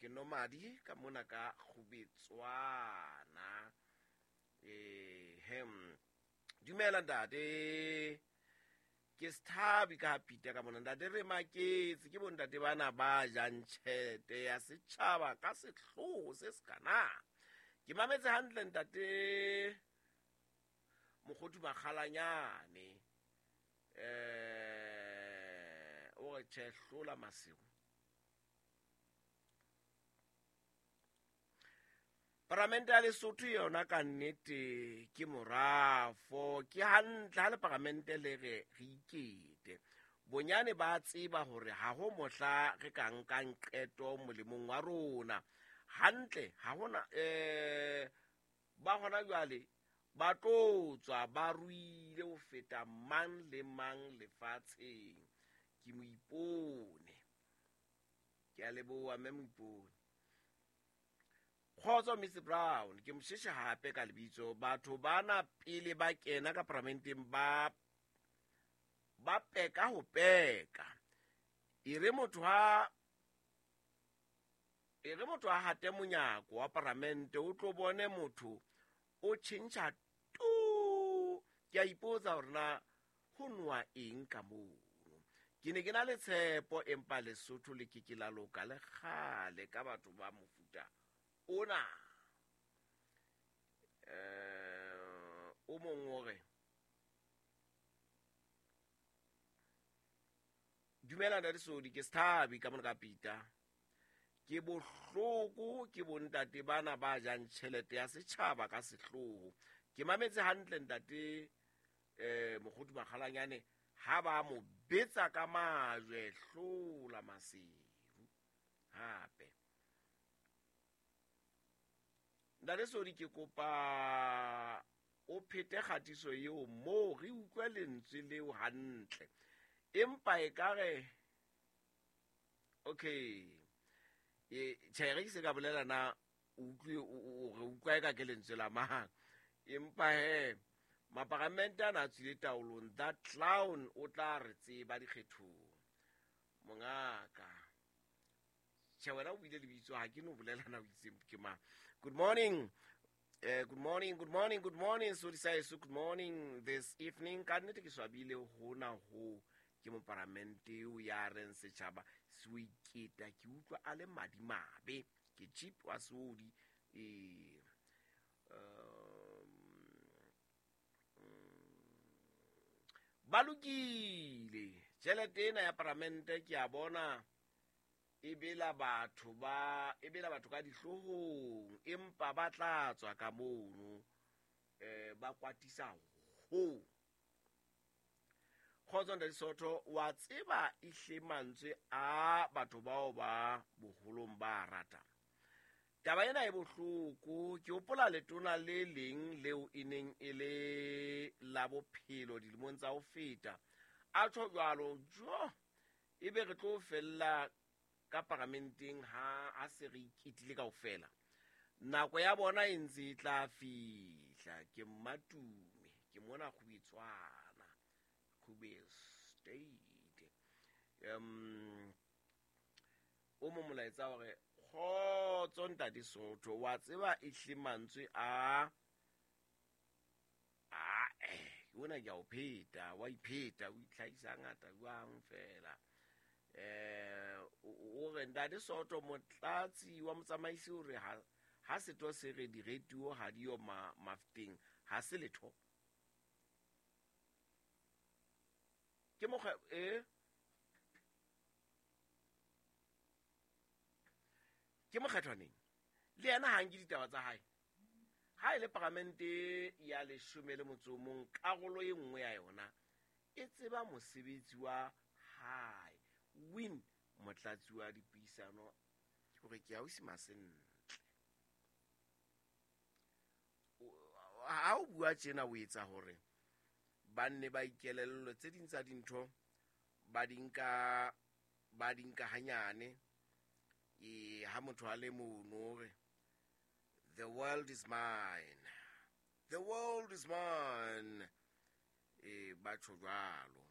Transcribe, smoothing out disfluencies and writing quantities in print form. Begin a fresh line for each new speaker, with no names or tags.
Ke nomadi ka mona ka kgubetswana. Ehem, dumela ntate, ke sethabi ka pita ka mona. Ntate, re maketse ke bontate bana ba jang tjhelete ya setjhaba ka sehlooho se se kana. Ke mametse hantle ntate Mokgothu Makgalanyane, o re tjhe, hlola masiu. Paramente ya Lesotho yona ka nnete ke morafo. Ke hantle ha le paramente le re re ikete. Bonyane ba tseba hore ha ho mohla re ka nkang qeto molemong wa rona. Hantle ha hona ba hona jwale ba tlo tswa ba ruile ho feta mang le mang lefatsheng. Ke Moipone. Ke a leboha mme Moipone. Kgotso Mr Brown, ke mosheshe hape ka lebitso. Batho bana pele ba kena ka paramenteng ba peka ho peka. E re motho ha hate monyako wa paramente, o tlo bone motho o tjhentjha tu. Ke a ipotsa hore na ho nowa eng ka mono. Ke ne ke na le tshepo, empa Lesotho le ke ke la loka le kgale ka batho ba mofuta ona. O mong o re, dumela ntate Sodi, ke Sethabi ka mona ka pita. Ke bohloko ke bontate bana ba jang tjhelete ya setjhaba ka sehlooho. Ke mametse hantle ntate Mokgothu Makgalanyane ha ba mo betsa ka majwe, hlola maseru. Hape ntate Sodi, ke kopa o phete kgatiso eo moo re utlwe lentswe leo hantle. Empa ekare okay, tjhe, re ke se ka bolela na o utlwe, o re utlwa eka ke lentswe la mang. Empa he maparamente ana a tswile taolong, that clown o tla re tseba dikgethong. Mongaka, tjhe, wena o buile lebitso, ha ke no bolela na o itse ke mang. Good morning. Good morning, good morning, good morning, Sodi Saeso, good morning this evening. Ka nnete ke swabile hona ho ke moparamente eo ya reng setjhaba se o iketa. Ke utlwa a le madimabe, ke cheap wa Sodi. Ba lokile. Tjhelete ena ya paramente ke a bona e bela batho ba, e bela batho ka dihloohong, empa ba tla tswa ka mono, ba kwatisa ho. Kgotso ntate Soto, wa tseba ehle mantswe a batho bao ba boholong ba rata. Taba ena e bohloko. Ke hopola letona le leng leo e neng e le la bophelo dilemong tsa ho feta. A tjho jwalo, jo, ebe re tlo fella ka paramenteng ha se re iketile kaofela. Nako ya bona e ntse e tla fihla. Ke Mmatume, ke mona Kgubetswana, Kgube State. O mo molaetsa hore kgotso ntate Sotho, wa tseba ehle mantswe a ona ke a o pheta, wa ipheta, o itlhahisa ngata jwang fela. O re ntate Soto, motlatsi wa motsamaisi o re ha setho se re diretuo ha diyo mafteng, ha se letho. Ke mokgwa ke mokgethwaneng le yena ha nke ditaba tsa hae. Ha e le paramente ya 11, karolo e nngwe ya yona e tseba mosebetsi wa hae. Win motlatsi wa dipuisano hore ke ausi Masentle. Ha o bua tjena o etsa hore ba nne ba ikelellwe tse ding tsa dintho ba di nka hanyane. Ha motho a le mono hore the world is mine, the world is mine, ba tjho jwalo.